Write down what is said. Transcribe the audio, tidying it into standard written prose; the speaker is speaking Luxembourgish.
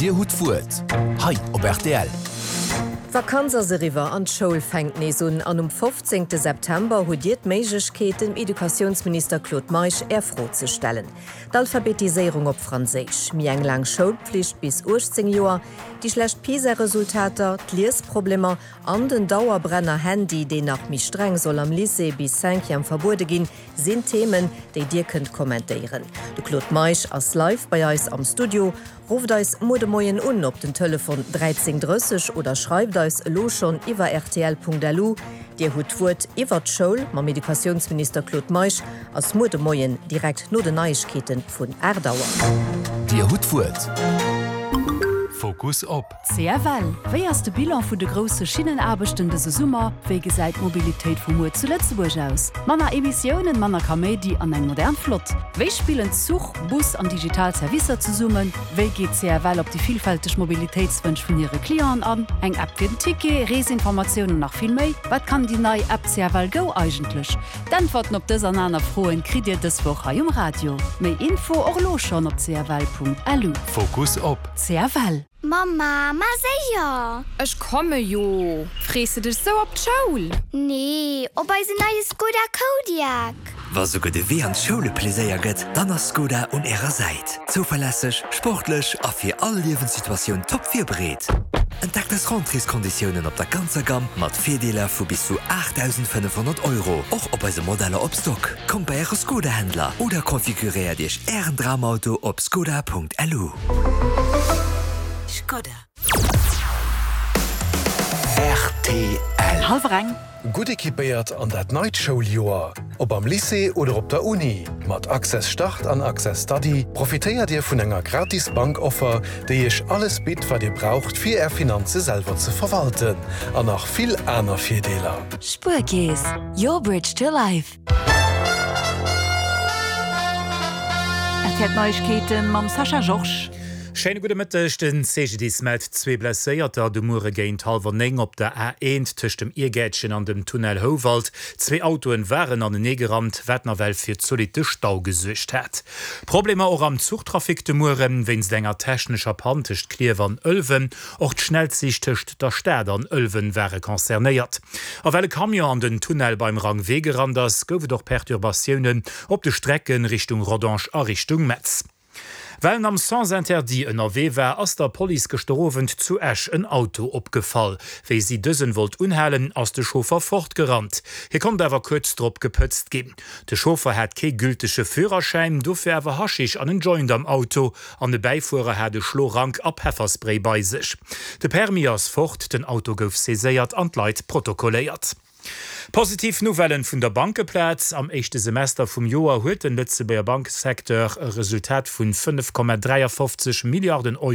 Dir hutt d'Wuert hei op rtl. D'Vakanz ass eriwwer an d'Schoul fänkt nees un. An um 15 September hutt Dir d'Méiglechkeet, dem Educatiounsminister Claude Meisch Är Fro ze stellen. D'Alphabetiséierung op Franséisch, méi eng laang Schoulpflicht bis 18 Joer, déi schlecht PISA-Resultater, d'Liesproblemer an den Dauerbrenner Handy, deen nach méi streng soll am Lycée bis Cinquième verbuede ginn, sinn Themen, déi Dir kënnt kommentéieren. De Claude Meisch ass live bei eis am Studio. Rufft eis muer de Moien un op den Telefon 13 30 oder schreift eis elo schonn iwwer rtl.lu. Dir hutt d'Wuert iwwert d'Schoul mam Educatiounsminister Claude Meisch ass muer de Moien direkt no den Neiegkeete vun 8 Auer. Dir hutt d'Wuert. Fokus op. CFL, Wéi ass de Bilan vun de grousse Schinnenaarbechten dëse Summer? Wéi gesäit d'Mobilitéit vu muer zu Lëtzebuerg aus? Manner Emissiounen, manner Kaméidi an eng modern Flott. Wéi spillen Zuch, Bus an digital Servicer zesummen? Wéi geet CFL op déi villfälteg Mobilitéitswënsch vun hire Clienten an? Eng App fir den Ticket, Reesinformatiounen an nach vill méi. Wat kann déi nei App CFL Go eigentlech? D'Äntwerten op dës an aner Froen kritt Dir dës Woch hei um Radio. Méi Info och elo schonn op cfl.lu. Fokus op. CFL. Mamma, ma séier! Ech komme jo! Frees de dech sou op d'Schoul? Nee, op eisen neie Skoda Kodiaq! Wa souguer de Wee an d'Schoul e Pleséier gëtt, dann ass Skoda un Ärer Säit. Zouverlässeg, sportlech a fir all Liewenssituatioun top virbereet. Entdeckt eis Rentréeskonditiounen op der ganzer Gamm mat Virdeeler vu bis zu 8.500 Euro, och op eise Modeller op Stock. Kommt bei Äre Skoda-Händler oder konfiguréiert Iech Ären Dramauto op skoda.lu. Skoda. Rtl. Hallwer eng. Gutt equipéiert an dat neit Schouljoer, ob am Lycée oder op der Uni, mat Access Start an Access Study profitéiert Dir vun enger gratis Bankoffer, déi Iech alles bitt, wat Dir braucht, fir Är Finanze selwer ze verwalten, an nach vill aner Virdeeler. Spuerkeess, your bridge to life. RTL Neiegkeeten mam Sascha Georges. Schéine gudde Mëtteg. Den CGDIS mellt zwee Blesséierter de Muere géint hallwer 9 op der A1 tëscht dem Iergäertchen an dem Tunnel Houwald. Zwee Autoen waren anenee gerannt, wat nawell fir zolitte Stau gesuergt hat. Problemer och am Zuchtrafic de Mueren, wéinst enger technescher Pann tëscht Klierf an Ëlwen. Och d'Schnellzich tëscht der Stad an Ëlwen ware concernéiert. A well e Camion an den Tunnel beim Rang Wee gerannt ass, gouf et och Perturbatiounen op de Strecke Richtung Rodange a Richtung Metz. Well en am Sens interdit ënnerwee war, ass der Police gëschter Owend zu Esch en Auto opgefall. Wéi si dësen wollt unhalen, ass de Chauffer fortgerannt. Hie konnt awer kuerz drop gepëtzt ginn. De Chauffer hat kee gültege Führerschäin, dofir awer Haschisch an en Joint am Auto an e Bäifuerer hat e Schlorank a Pefferspray bei sech. De Permis ass fort, den Auto gouf saiséiert an d'Leit protokolléiert. Positiv Nouvellen vun der Bankeplaz, Am éischte Semester vum Joer huet den Lëtzebuerger Bankesecteur e Resultat vun 5,53 Milliarden Euro.